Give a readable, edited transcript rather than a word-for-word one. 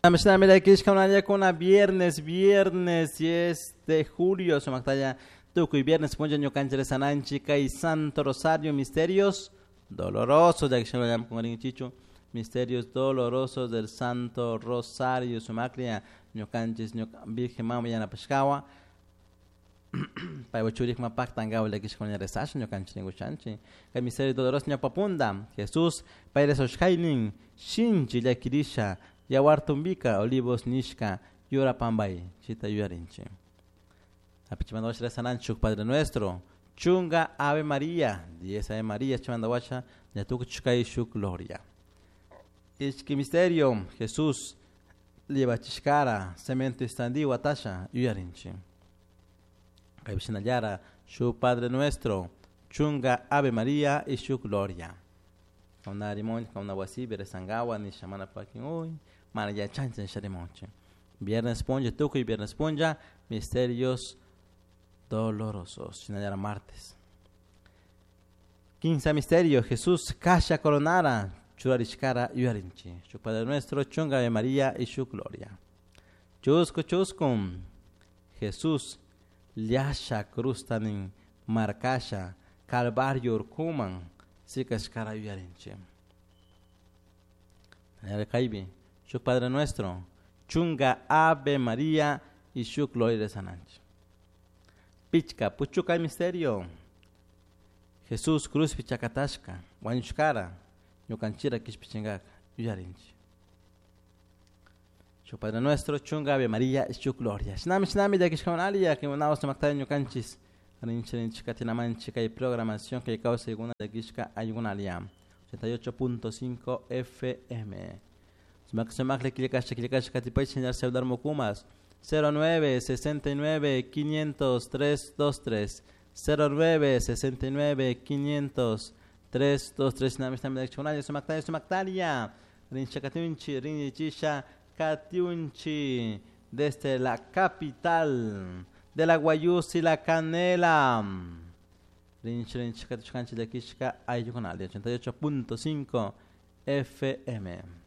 Kuna viernes, viernes 10 de julio, sumaktaya tukuy viernes punlla ñukanchik rezananchik kay Santo Rosario Misterios Dolorosos, chichu Misterios Dolorosos del Santo Rosario, sumaklia ñukanchik Virgen Mama yanapashkawa paywa churikma paktankawa llakishkuna rezasha ñukanchik rinkuchanchik kay Misterio Doloroso ñawpapunda Jesús pay rezoshkaynin shinchi llakirisha yawartumbika olivos nishka yura pambay chita yuyarinchik. Apichimanda washa rezananchik Padre Nuestro, chunga Ave María, 10 Ave María, chimanda washa ñatukuchkay shuk Gloria. Ishki misterio, Jesús liebachishkara, cemento istandi watasha yuyarinchik. Kay shu Padre Nuestro, chunga Ave María y shu Gloria. Kauna rimon, kauna wasibi rezangawa nisha mana pakin uy, mana yachancha nisha rimonchi. Viernes punlla, tukuy viernes punlla, misterios dolorosos. Shinallara martes. Quince misterio, Jesús kasha coronara, churarishkara yuyarinchi. Shu Padre Nuestro, chunga Ave María y shu Gloria. Chusco chuscum, Jesús liasha crustanin marcasha Calvario urkuman sikashkara yuyarinchi. Kaypi, shuk Padre Nuestro, chunga Ave María y shuk Gloria de Sananchi. Pichka, puchuka misterio. Jesús cruz pichakatashka, wañushkara, ñukanchira kishpichingaka, yuyarinchi. Shuk Padre Nuestro, chunga Ave María y shuk Gloria. Shinami, shinami, llakishkawan ya que unawas maktay ñukanchis. Rinchi, rinchi, katinamanchi, kay programación kay kawsaykuna llakishka ayukunalia. 88.5 FM. Sumak sumak le killkasha killkasha katipay señor celular Mokumas 09 69 500 323 09 69 500 323 nami nami llakishkunalla sumaktaya sumaktaria rincha katiunchi rinchisha katiunchi desde la capital de la Guayús y la Canela. Rinchi rinchi katichkanchi llakishka ayukunalla 88.5 FM.